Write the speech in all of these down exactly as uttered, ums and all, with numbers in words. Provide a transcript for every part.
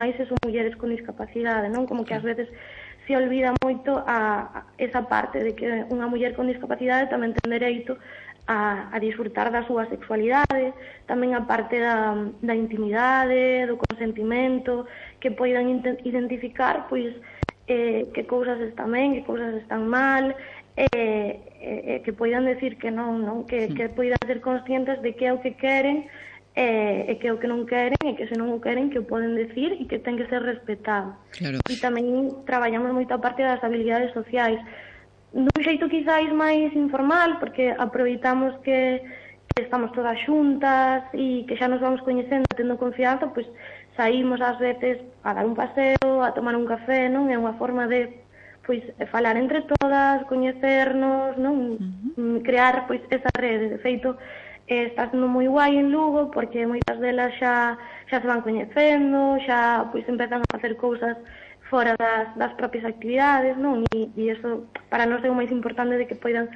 máis se son mulleres con discapacidade, non? Como que ás veces se olvida moito a, a esa parte de que unha muller con discapacidade tamén ten dereito a, a disfrutar da súa sexualidade, tamén a parte da, da intimidade, do consentimento, que poidan identificar, pois, eh, que cousas están ben, que cousas están mal, eh, eh, que poidan decir que non, non? Que, que poidan ser conscientes de que é o que queren, e, e que o que non queren, e que se non o queren que o poden decir e que ten que ser respetado. Claro. E tamén traballamos moito a parte das habilidades sociais dun xeito quizáis máis informal, porque aproveitamos que, que estamos todas xuntas e que xa nos vamos coñecendo, tendo confianza, pois saímos ás veces a dar un paseo, a tomar un café, non? É unha forma de pois falar entre todas, coñecernos, non? Uh-huh. Crear pois esa rede. De feito, eh, está sendo moi guai en Lugo, porque moitas delas xa, xa se van coñecendo, xa pois empezan a facer cousas fora das, das propias actividades, non? E, e iso para nós é o máis importante, de que poidan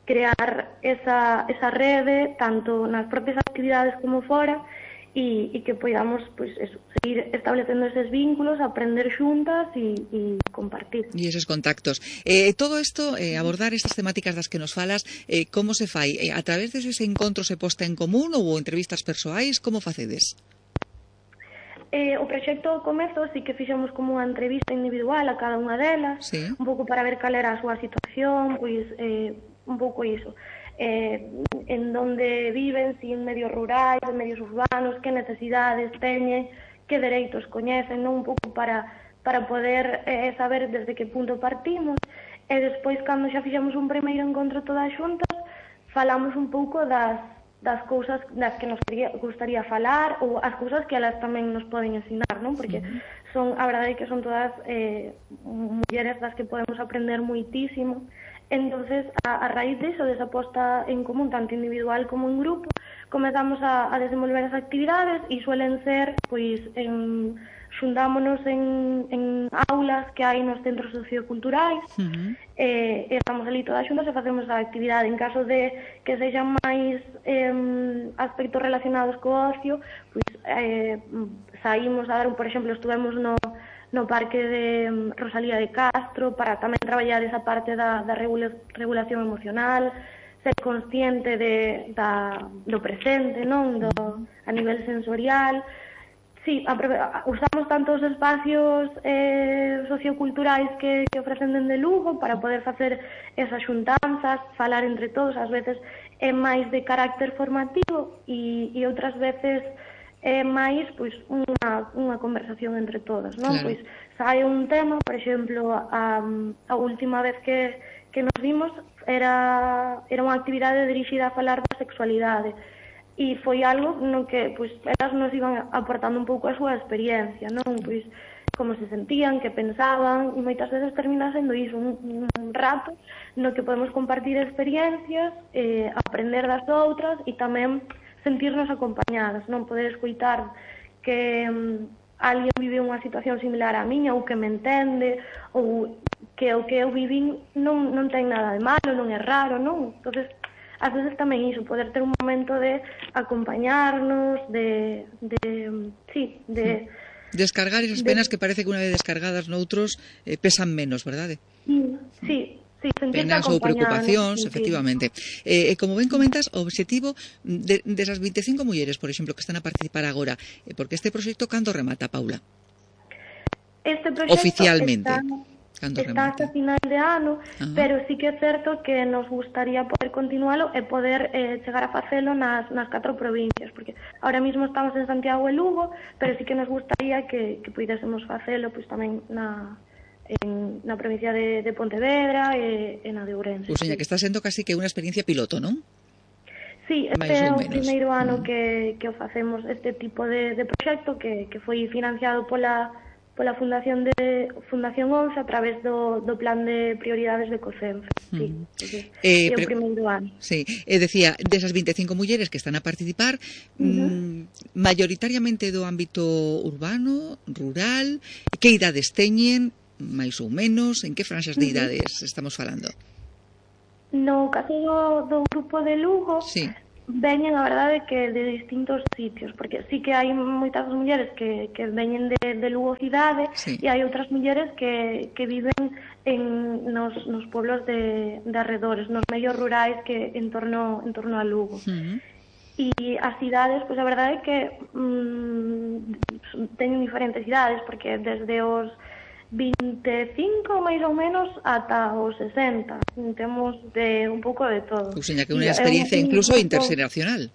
crear esa, esa rede, tanto nas propias actividades como fora, e, e que poidamos pois, eso, seguir establecendo eses vínculos, aprender xuntas e, e compartir. E esos contactos. Eh, todo isto, eh, abordar estas temáticas das que nos falas, eh, como se fai? Eh, a través deses encontros se posta en común ou entrevistas persoais? Como facedes? Eh, o proxecto ao comezo sí que fixemos como unha entrevista individual a cada unha delas, sí. Un pouco para ver cal era a súa situación, pois eh, un pouco iso, eh, en donde viven, si en medios rurais, en medios urbanos, que necesidades teñen, que dereitos coñecen, non? Un pouco para, para poder eh, saber desde que punto partimos, e despois, cando xa fixemos un primeiro encontro todas xuntas, falamos un pouco das das cousas das que nos quería, gustaría falar, ou as cousas que elas tamén nos poden ensinar, non? Porque uh-huh. son, a verdade é que son todas eh, mulleres das que podemos aprender moitísimo. Entonces, a, a raíz diso, desa posta en común, tanto individual como en grupo, comezamos a, a desenvolver as actividades, e suelen ser, pois, en, xuntámonos en, en aulas que hai nos centros socioculturais, uh-huh. e, e estamos ali todas xuntas e facemos a actividade. En caso de que sexan máis eh, aspectos relacionados co ocio, pois eh, saímos a dar, por exemplo, estuvemos no, no parque de Rosalía de Castro para tamén traballar esa parte da, da regula, regulación emocional, ser consciente de, da, do presente, non? Do, a nivel sensorial. Sí, usamos tantos espacios eh, socioculturais que, que ofrecen dende Lugo para poder facer esas xuntanzas, falar entre todos. Ás veces é máis de carácter formativo e, e outras veces é máis pois, unha, unha conversación entre todas, non? Claro. Pois sai un tema, por exemplo, a, a última vez que, que nos vimos era, era unha actividade dirixida a falar da sexualidade. E foi algo no que pois, elas nos iban aportando un pouco a súa experiencia, non? Pois, como se sentían, que pensaban, e moitas veces termina sendo iso, un, un rato no que podemos compartir experiencias, eh, aprender das outras e tamén sentirnos acompañadas, non? Poder escoitar que um, alguén vive unha situación similar á miña, ou que me entende, ou que o que eu vivín non, non ten nada de malo, non é raro, non? Entonces, ás veces tamén iso, poder ter un momento de acompañarnos, de, de sí, de... Descargar esas penas de, que parece que unha vez descargadas noutros eh, pesan menos, verdade? Sí, sí. Sí, penas ou preocupacións, efectivamente. Eh, como ben comentas, o objetivo de, desas vinte e cinco mulleres, por exemplo, que están a participar agora, eh, porque este proxecto cando remata, Paula? Este proxecto oficialmente. Está... Está hasta final de ano, uh-huh. pero sí que é certo que nos gustaría poder continualo e poder eh, chegar a facelo nas, nas catro provincias, porque ahora mismo estamos en Santiago e Lugo, pero sí que nos gustaría que, que pudésemos facelo pois, tamén na, en, na provincia de, de Pontevedra e, e na de Ourense. Ou seja, que está sendo casi que unha experiencia piloto, non? Sí, este é o primeiro ano uh-huh. que, que o facemos este tipo de, de proxecto que, que foi financiado pola pola Fundación de Fundación once a través do, do plan de prioridades de COCENFE. Sí, mm. entonces, eh, é o primeiro ano. Sí, eh, decía, desas vinte e cinco mulleres que están a participar, uh-huh. mm, mayoritariamente do ámbito urbano, rural, que idades teñen, máis ou menos, en que franxas de idades uh-huh. estamos falando? No caso do, do grupo de Lugo, sí. veñen, a verdade, que de distintos sitios, porque sí que hai moitas mulleres que, que veñen de, de Lugo cidade, sí. e hai outras mulleres que, que viven en, nos, nos pueblos de, de arredores, nos medios rurais que en torno, en torno a Lugo. Uh-huh. E as cidades, pois a verdade é que mm, teñen diferentes cidades, porque desde os vinte e cinco máis ou menos ata os sesenta. Temos de un pouco de todo. Ou seja, que é unha experiencia un, incluso un interxeracional.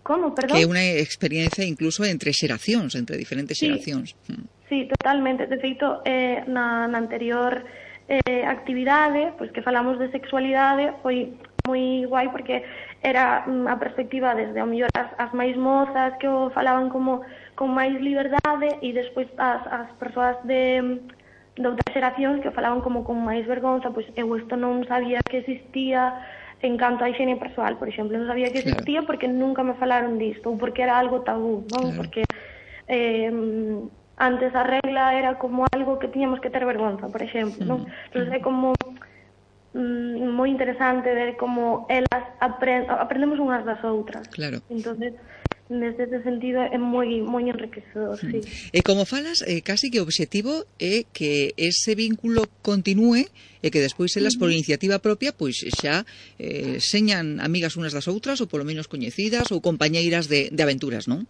Como, perdón? Que é unha experiencia incluso entre xeracións, entre diferentes sí, xeracións. Sí, totalmente. De feito, eh, na, na anterior eh, actividade, pois que falamos de sexualidade, foi moi guai porque era mm, a perspectiva desde ao mellor as, as máis mozas que o falaban como con máis liberdade e despois as, as persoas de, de outras xeracións que falaban como con máis vergonza, pois eu isto non sabía que existía en canto a higiene persoal, por exemplo, non sabía que existía claro. Porque nunca me falaron disto ou porque era algo tabú, non? Claro. Porque eh, antes a regla era como algo que tiñamos que ter vergonza, por exemplo, non? Entón é como mm, moi interesante ver como elas aprend aprendemos unhas das outras. Claro. Entonces, neste sentido é moi moi enriquecedor, sí. E como falas, eh, casi que o obxectivo é que ese vínculo continúe e que despois elas por iniciativa propia pois xa eh, señan amigas unas das outras ou polo menos coñecidas ou compañeiras de, de aventuras, non?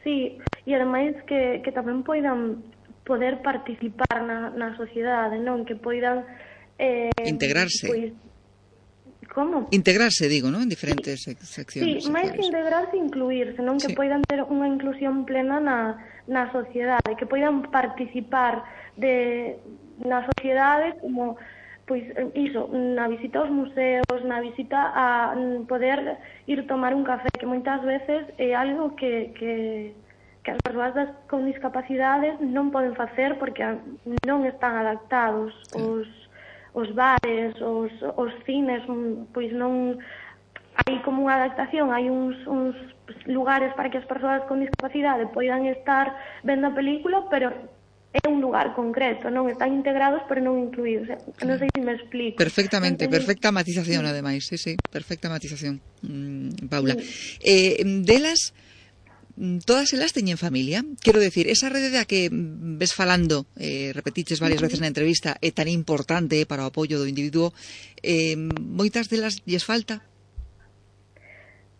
Sí, e ademais que, que tamén poidan poder participar na, na sociedade, non? Que poidan eh, integrarse. Pois, como? Integrarse, digo, non? En diferentes sí, seccións. Sí, máis que integrarse, incluirse, non? Que sí. Poidan ter unha inclusión plena na, na sociedade, que poidan participar de, na sociedade como, pois, iso, na visita aos museos, na visita a poder ir tomar un café, que moitas veces é algo que, que, que as persoas con discapacidades non poden facer porque non están adaptados sí. os os bares, os, os cines, pois non hai como unha adaptación, hai uns, uns lugares para que as persoas con discapacidade poidan estar vendo a película, pero é un lugar concreto, non están integrados pero non incluídos. Non sei se me explico. Perfectamente, Entonces, perfecta matización, sí. Ademais, sí, sí, perfecta matización, mm, Paula. Sí. Eh, delas, todas elas teñen familia? Quero decir, esa rede da que ves falando, eh, repetiches varias veces na entrevista, é tan importante para o apoio do individuo, eh, moitas delas lles falta?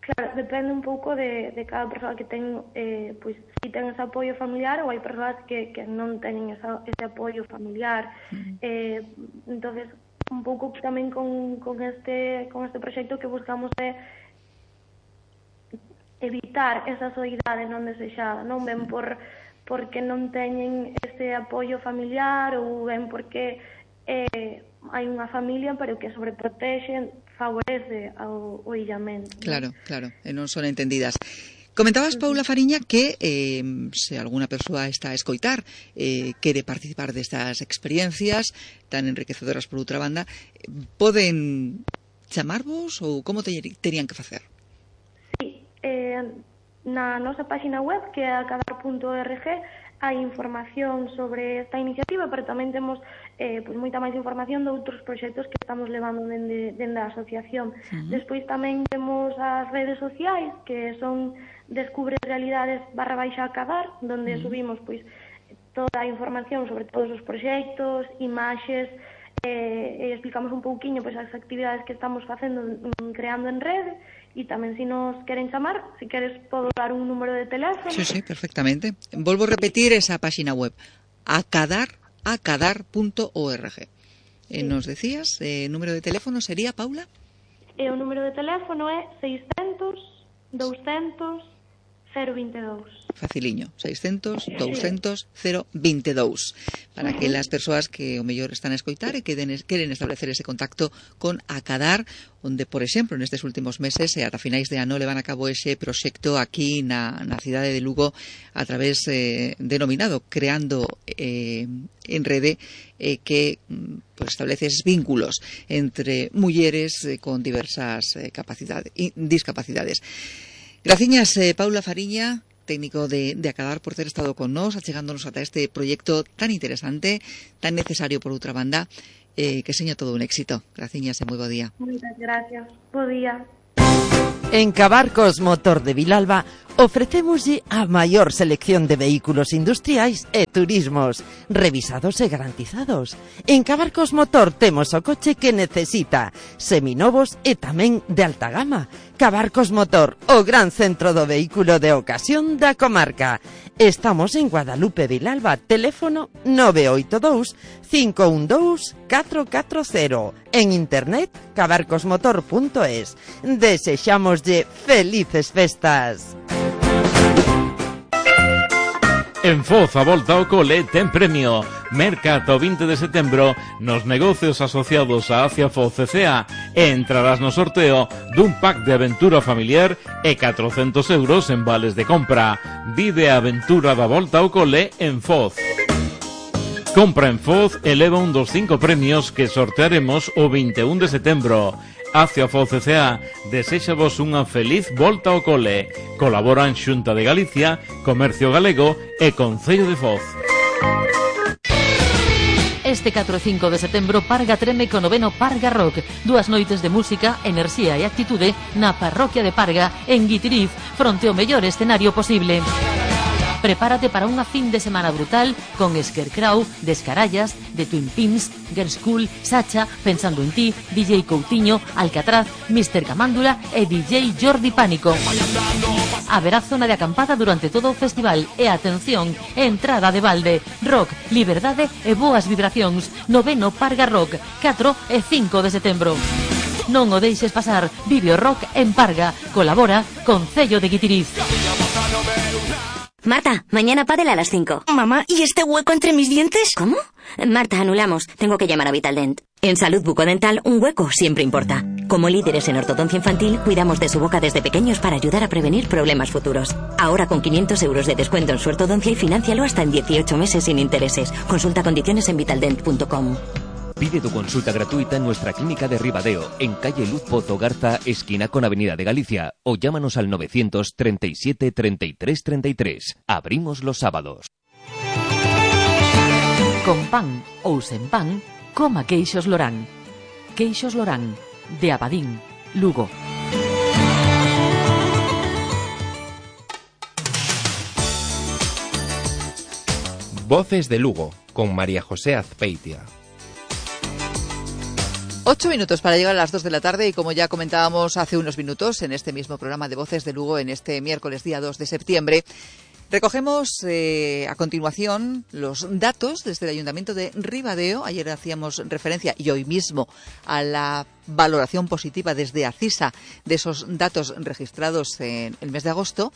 Claro, depende un pouco de, de cada persoa que ten, eh, pois, si ten ese apoio familiar ou hai persoas que, que non teñen esa, ese apoio familiar. Mm. Eh, entonces, un pouco tamén con, con, este, con este proxecto que buscamos é evitar esa soidade non desexada, non ven por porque non teñen ese apoio familiar ou ven porque eh, hai unha familia pero que sobreprotexen, favorece ao, ao illamento. Claro, ¿no? Claro, e non son entendidas. Comentabas, Paula Fariña, que eh, se alguna persoa está a escoitar, eh, quere participar destas experiencias tan enriquecedoras por outra banda, poden chamarvos ou como te, terían que facer? Eh, na nosa página web, que é acadar punto org, hai información sobre esta iniciativa, pero tamén temos eh, pues, moita máis información de outros proxectos que estamos levando dende, dende a asociación. Uh-huh. Despois tamén temos as redes sociais, que son Descubre Realidades barra baixa acadar, donde uh-huh. subimos pois, toda a información sobre todos os proxectos, imaxes, eh, e explicamos un pouquiño pois, as actividades que estamos facendo, creando en rede. E tamén se nos queren chamar, se queres podo dar un número de teléfono. Sí, sí, perfectamente. Volvo a repetir esa página web, acadar punto org. Sí. Eh, nos decías, eh, número de teléfono sería, Paula? E o número de teléfono é seiscentos, douscentos, cero veintidós. Faciliño, seiscentos, douscentos, cero veintidós. Para que as persoas que o mellor están a escoitar e queren, queren establecer ese contacto con Acadar, onde, por exemplo, nestes últimos meses e ata finais de ano levan a cabo ese proxecto aquí na, na cidade de Lugo a través eh, denominado Creando eh, en Rede, eh, que pues, establece esos vínculos entre mulleres eh, con diversas eh, capacidades, discapacidades. Graciñas, eh, Paula Fariña, técnico de, de Acadar, por ter estado con nós, achegándonos ata este proxecto tan interesante, tan necesario por outra banda, eh, que seña todo un éxito. Graciñas e moi bo día. Moitas gracias. Bo día. En Cabarcos Motor de Vilalba ofrecémoslle a maior selección de vehículos industriais e turismos, revisados e garantizados. En Cabarcos Motor temos o coche que necesita, seminovos e tamén de alta gama. Cabarcos Motor, o gran centro do vehículo de ocasión da comarca. Estamos en Guadalupe Vilalba, teléfono nove oito dous, cinco un dous, catro catro cero. En internet, cabarcosmotor punto es. Desexámoslle felices festas. En Foz a volta ao cole ten premio. Merca ata o vinte de setembro nos negocios asociados a Acia Foz C C A e entrarás no sorteo dun pack de aventura familiar e catrocentos euros en vales de compra. Vive a aventura da volta ao cole en Foz. Compra en Foz e leva un dos cinco premios que sortearemos o vinte e un de setembro. Acia Foz C C A deséxavos unha feliz volta ao cole. Colaboran Xunta de Galicia, Comercio Galego e Concello de Foz. Este catro e cinco de setembro Parga treme co noveno Parga Rock. Dúas noites de música, enerxía e actitude na parroquia de Parga, en Guitiriz, fronte ao mellor escenario posible. Prepárate para unha fin de semana brutal con Scarecrow, Descarallas, The Twin Pins, Girls School, Sacha, Pensando en ti, D J Coutinho, Alcatraz, mister Camándula e D J Jordi Pánico. Haberá zona de acampada durante todo o festival e, atención, entrada de balde, rock, liberdade e boas vibracións. Noveno Parga Rock, catro e cinco de setembro. Non o deixes pasar, vive o rock en Parga. Colabora Concello de Guitiriz. Marta, mañana pádel a las cinco. Mamá, ¿y este hueco entre mis dientes? ¿Cómo? Marta, anulamos. Tengo que llamar a Vitaldent. En Salud Bucodental, un hueco siempre importa. Como líderes en ortodoncia infantil, cuidamos de su boca desde pequeños para ayudar a prevenir problemas futuros. Ahora con quinientos euros de descuento en su ortodoncia y financialo hasta en dieciocho meses sin intereses. Consulta condiciones en vitaldent punto com. Pide tu consulta gratuita en nuestra clínica de Ribadeo, en calle Luz Pozo Garza, esquina con Avenida de Galicia, o llámanos al novecientos treinta y siete, treinta y tres, treinta y tres. Abrimos los sábados. Con pan ou sen pan, coma queixos Lorán. Queixos Lorán, de Abadín, Lugo. Voces de Lugo, con María José Azpeitia. Ocho minutos para llegar a las dos de la tarde y como ya comentábamos hace unos minutos en este mismo programa de Voces de Lugo, en este miércoles día dos de septiembre, recogemos eh, a continuación los datos desde el Ayuntamiento de Ribadeo. Ayer hacíamos referencia y hoy mismo a la valoración positiva desde ACISA de esos datos registrados en el mes de agosto.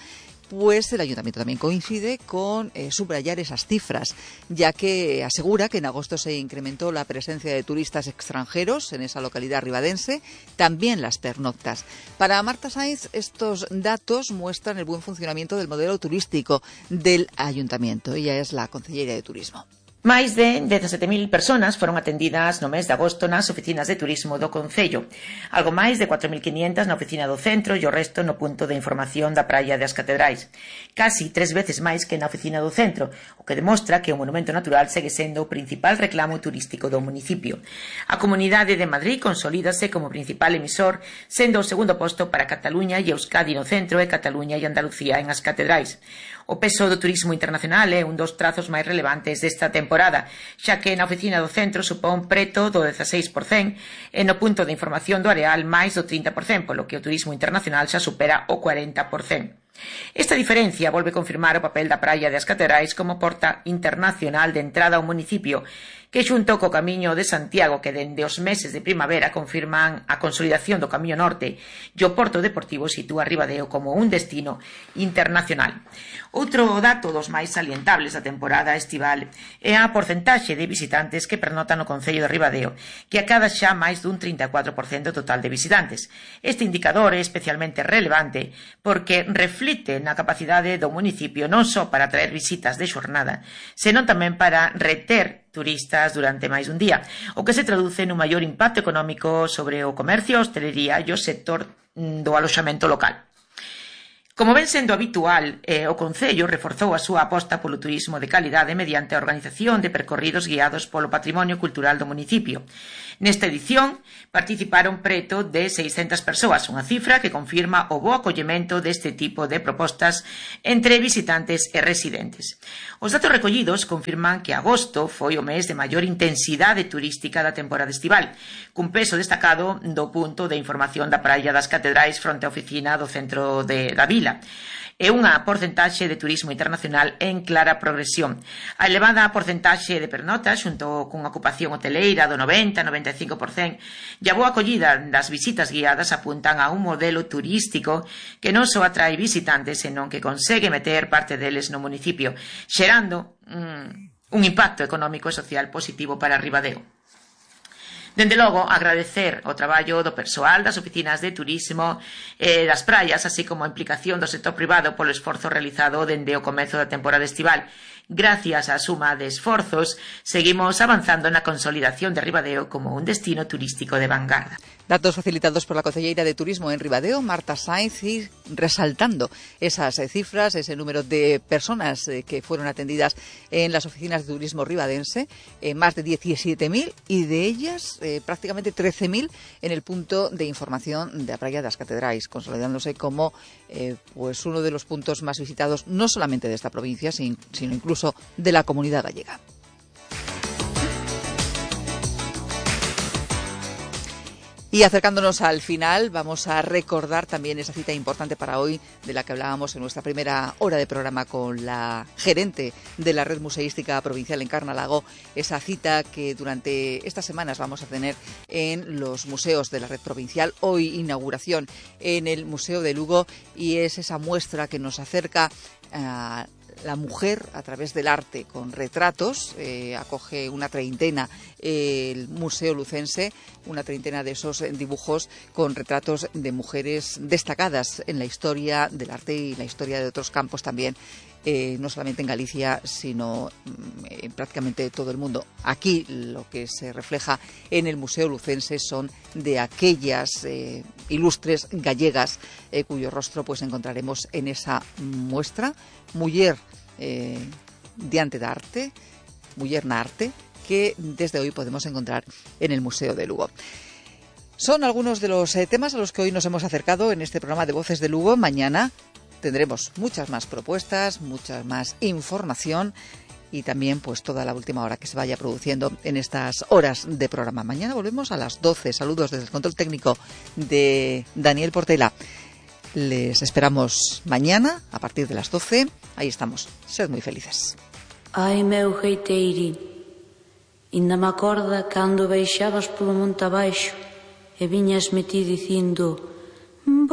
Pues el Ayuntamiento también coincide con eh, subrayar esas cifras, ya que asegura que en agosto se incrementó la presencia de turistas extranjeros en esa localidad ribadense, también las pernoctas. Para Marta Sainz, estos datos muestran el buen funcionamiento del modelo turístico del Ayuntamiento. Ella es la concellera de Turismo. Máis de dezasete mil persoas foron atendidas no mes de agosto nas oficinas de turismo do Concello. Algo máis de catro mil quinhentas na oficina do centro e o resto no punto de información da praia das Catedrais. Casi tres veces máis que na oficina do centro, o que demostra que o monumento natural segue sendo o principal reclamo turístico do municipio. A Comunidade de Madrid consolídase como principal emisor, sendo o segundo posto para Cataluña e Euskadi no centro e Cataluña e Andalucía en as Catedrais. O peso do turismo internacional é un dos trazos máis relevantes desta temporada, xa que na oficina do centro supón preto do dezaseis por cento e no punto de información do Areal máis do trinta por cento, polo que o turismo internacional xa supera o cuarenta por cento. Esta diferencia volve confirmar o papel da praia das Catedrais como porta internacional de entrada ao municipio, que xunto co Camiño de Santiago, que dende os meses de primavera confirman a consolidación do Camiño Norte, e o Porto Deportivo sitúa Ribadeo como un destino internacional. Outro dato dos máis salientables da temporada estival é a porcentaxe de visitantes que pernotan no Concello de Ribadeo, que acada xa máis dun trinta e catro por cento total de visitantes. Este indicador é especialmente relevante porque reflite na capacidade do municipio non só para atraer visitas de xornada, senón tamén para reter turistas durante máis dun día, o que se traduce nun maior impacto económico sobre o comercio, a hostelería e o sector do aloxamento local. Como ven sendo habitual, eh, o Concello reforzou a súa aposta polo turismo de calidade mediante a organización de percorridos guiados polo patrimonio cultural do municipio. Nesta edición participaron preto de seiscentas persoas, unha cifra que confirma o bo acollemento deste tipo de propostas entre visitantes e residentes. Os datos recollidos confirman que agosto foi o mes de maior intensidade turística da temporada estival, cun peso destacado do punto de información da Praia das Catedrais fronte á oficina do centro de, da vila. É unha porcentaxe de turismo internacional en clara progresión. A elevada porcentaxe de pernotas, xunto cunha ocupación hoteleira do noventa a noventa e cinco por cento, e a boa acollida das visitas guiadas apuntan a un modelo turístico que non só atrae visitantes, senón que consegue meter parte deles no municipio, xerando mm, un impacto económico e social positivo para Ribadeo. Dende logo, agradecer o traballo do persoal das oficinas de turismo e das praias, así como a implicación do sector privado polo esforzo realizado dende o comezo da temporada estival. Gracias á suma de esforzos, seguimos avanzando na consolidación de Ribadeo como un destino turístico de vanguardia. Datos facilitados por la concelleira de Turismo en Ribadeo, Marta Sainz, y resaltando esas eh, cifras, ese número de personas eh, que fueron atendidas en las oficinas de turismo ribadense, eh, más de diecisiete mil, y de ellas eh, prácticamente trece mil en el punto de información de la Praia das Catedrais, consolidándose como eh, pues uno de los puntos más visitados, no solamente de esta provincia, sino incluso de la comunidad gallega. Y acercándonos al final, vamos a recordar también esa cita importante para hoy de la que hablábamos en nuestra primera hora de programa con la gerente de la Red Museística Provincial en Carnalago, esa cita que durante estas semanas vamos a tener en los museos de la Red Provincial. Hoy inauguración en el Museo de Lugo, y es esa muestra que nos acerca a la mujer a través del arte con retratos. Eh, acoge una treintena eh, el Museo Lucense, una treintena de esos dibujos con retratos de mujeres destacadas en la historia del arte y la historia de otros campos también, eh, no solamente en Galicia, sino en prácticamente todo el mundo. Aquí lo que se refleja en el Museo Lucense son de aquellas eh, ilustres gallegas eh, cuyo rostro pues encontraremos en esa muestra. Muller eh, diante de arte, Muller na arte, que desde hoy podemos encontrar en el Museo de Lugo. Son algunos de los eh, temas a los que hoy nos hemos acercado en este programa de Voces de Lugo. Mañana tendremos muchas más propuestas, mucha más información y también pues toda la última hora que se vaya produciendo en estas horas de programa. Mañana volvemos a las doce. Saludos desde el control técnico de Daniel Portela. Les esperamos mañana a partir de las doce. Aí estamos. Sed moi felices. Ai, meu geiteirín, inda me acorda cando baixabas polo monte abaixo e viñas me ti dicindo: